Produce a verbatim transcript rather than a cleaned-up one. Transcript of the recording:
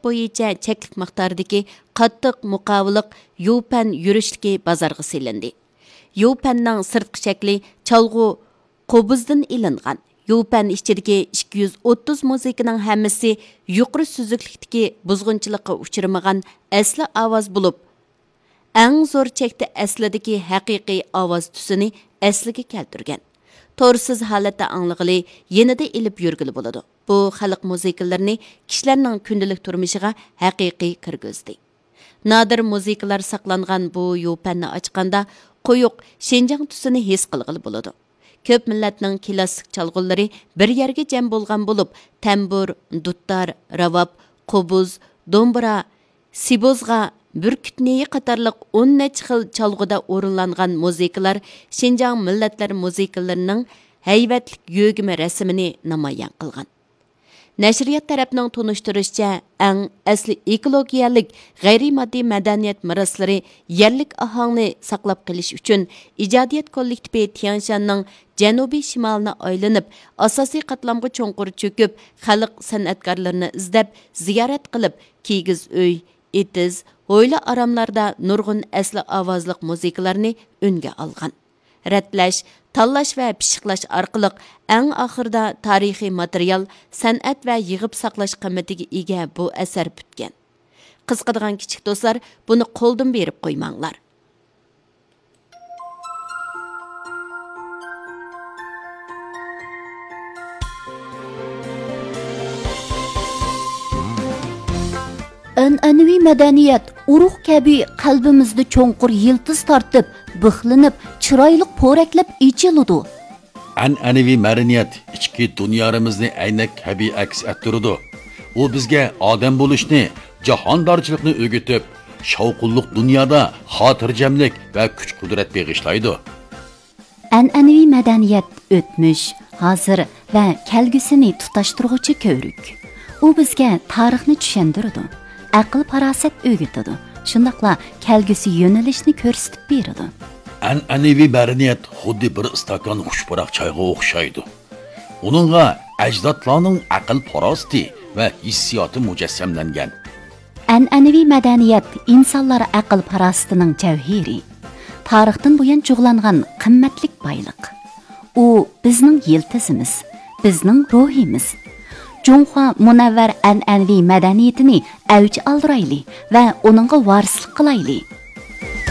بويىچە چەكلىك مىقداردىكى قاتتىق مۇقاۋىلىق يۇپەن يۈرۈشلۈكى بازارغا سېلىندى. يۇپەننىڭ سىرتقى شەكلى چالغۇ قوبۇزدىن ئېلىنغان. يۇپەن ئىچىدىكى ئىككى يۈز ئوتتۇز مۇزىكىنىڭ ھەممىسى يۇقىرى سۈزۈكلۈكتىكى بۇزغۇنچىلىققا ئۇچرىمىغان ئەسلى ئاۋاز بولۇپ، ئەڭ زور چەكتە ئەسلىدىكى ھەقىقىي ئاۋاز تۈسىنى ئەسلىگە كەلتۈرگەن. تورسىز ھالەتتە ئاڭلىغىلى، يېنىدا ئېلىپ يۈرگىلى بولىدۇ. بۇ خەلق مۇزىكىلىرىنى كىشىلەرنىڭ كۈندىلىك تۇرمۇشىغا ھەقىقىي كىرگۈزدى. نادىر مۇزىكىلار ساقلانغان بۇ يۇپەننى ئاچقاندا، قويۇق شىنجاڭ تۈسىنى ھېس قىلغىلى بولىدۇ. كۆپ مىللەتنىڭ كىلاسسىك چالغۇلىرى بىر يەرگە جەم بولغان بولۇپ، تەمبۇر، دۇتار، راۋاب، قوبۇز، دومبىرا، سىبوزغا، بۈركۈت نېيى قاتارلىق ئون نەچچە خىل چالغۇدا ئورۇنلانغان مۇزىكىلار شىنجاڭ مىللەتلەر مۇزىكىلىرىنىڭ ھەيۋەتلىك يۆگىمە رەسىمىنى نامايان قىلغان. نەشرىيات تەرەپنىڭ تونۇشتۇرۇشىچە، ئەڭ ئەسلى ئېكولوگىيەلىك غەيرىي ماددىي مەدەنىيەت مىراسلىرى يەرلىك ئاھاڭنى ساقلاپ قېلىش ئۈچۈن، ئىجادىيەت كوللېكتىپى تيەنشاننىڭ جەنۇبىي شىمالىنى ئايلىنىپ، ئاساسىي قاتلامغا چوڭقۇر چۆكۈپ، خەلق سەنئەتكارلىرىنى ئىزدەپ، زىيارەت قىلىپ، كىگىز ئۆي، ئېتىز، ھويلا-ئاراملاردا نۇرغۇن ئەسلى ئاۋازلىق مۇزىكىلارنى ئۈنگە ئالغان. رەتلەش، تاللاش ۋە پىششىقلاش ئارقىلىق ئەڭ ئاخىرىدا تارىخىي ماتېرىيال، سەنئەت ۋە يىغىپ ساقلاش قىممىتىگە ئىگە بۇ ئەسەر پۈتكەن. قىزىقىدىغان كىچىك دوستلار، بۇنى قولدىن بېرىپ قويماڭلار. ئەنئەنىۋى مەدەنىيەت ئۇرۇق كەبى قەلبىمىزدە چوڭقۇر يىلتىز تارتىپ، بىخلىنىپ، چىرايلىق پورەكلەپ ئېچىلىدۇ. ئەنئەنىۋى مەدەنىيەت ئىچكى دۇنيارىمىزنى ئەينەك كەبى ئەكس ئەتتۈرىدۇ. ئۇ بىزگە ئادەم بولۇشنى، جاھاندارچىلىقنى ئۆگىتىپ، شاۋقۇنلۇق دۇنيادا خاتىرجەملىك ۋە كۈچ-قۇدرەت بېغىشلايدۇ. ئەنئەنىۋى مەدەنىيەت ئۆتمۈش، ھازىر ۋە كەلگۈسىنى تۇتاشتۇرغۇچى كۆۋرۈك. ئۇ بىزگە تارىخنى چۈشەندۈرىدۇ، ئەقىل-پاراسەت ئۆگىتىدۇ، شۇنداقلا كەلگۈسى يۆنىلىشنى كۆرسىتىپ بېرىدۇ. ئەنئەنىۋى مەدەنىيەت خۇددى بىر ئىستاكان خۇش پۇراق چايغا ئوخشايدۇ. ئۇنىڭغا ئەجدادلارنىڭ ئەقىل-پاراسىتى ۋە ھېسسىياتى مۇجەسسەملەنگەن. ئەنئەنىۋى مەدەنىيەت ئىنسانلار ئەقىل-پاراسىتىنىڭ جەۋھىرى، تارىختىن بۇيان جۇغلانغان قىممەتلىك بايلىق. ئۇ بىزنىڭ يىلتىزىمىز، بىزنىڭ روھىمىز. جۇڭخۇا مۇنەۋۋەر ئەنئەنىۋى مەدەنىيىتىنى ئەۋج ئالدۇرايلى ۋە ئۇنىڭغا ۋارىسلىق قىلايلى.